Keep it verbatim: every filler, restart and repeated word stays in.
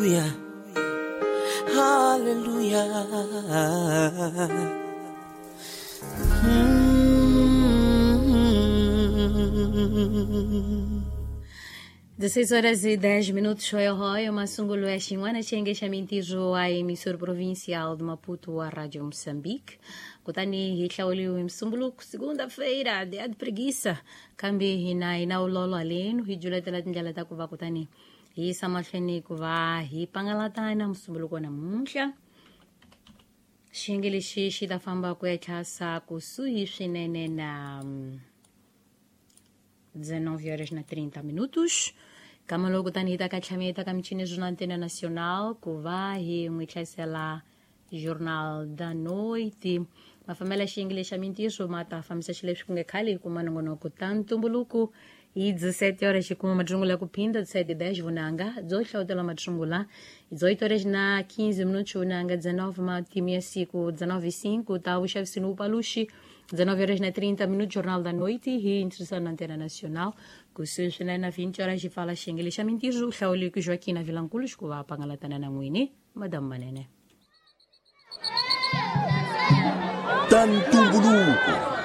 Hallelujah. Hallelujah. Mm. dezesseis horas e dez minutos, Royal Royal, Massungulo é Xinguana, Xengue, Xamintijo, a emissora provincial de Maputo, a Rádio Moçambique. Kutani hi hlawuliwe Msumbuluko, segunda-feira, dia de preguiça. Kambe hina hi na ulolo halenu, hi juletela tindlela ta ku va kutani hi yisa mahlweni ku va hi pangalatana Msumbuluko namuntlha. Xiyenge lexi xi ta famba ku ya tlhasa kusuhi swinene na mm, dezenove horas na trinta minutos. Kama loko tani hi ta ka tlhameta ka michini na Antena Nacional ku va hi n'wi hlayisela Jornal da Noite. Mafambela xiyenge xa mintirho ma ta fambisa xileswi ku nge khale hi kuma nongonoko ta ntumbuluko hi dezessete horas hi kuma matsungula ku phinda dezessete e dez vunanga byo hlawutela matsungula dezoito horas na quinze minutos vunanga dezenove matimu ya siku dezenove e cinco ta vuxavisi ni vupaluxi dezenove horas na trinta minutos Jornal da Noite hi introdução na Antena Nacional kusuhi swinene na vinte horas hi pfala xiyenge xa mintirho hlawuli ku Joaquina Vilanculos ku va pangalatana na n'wini Madame Manene. Ta ntumbuluko.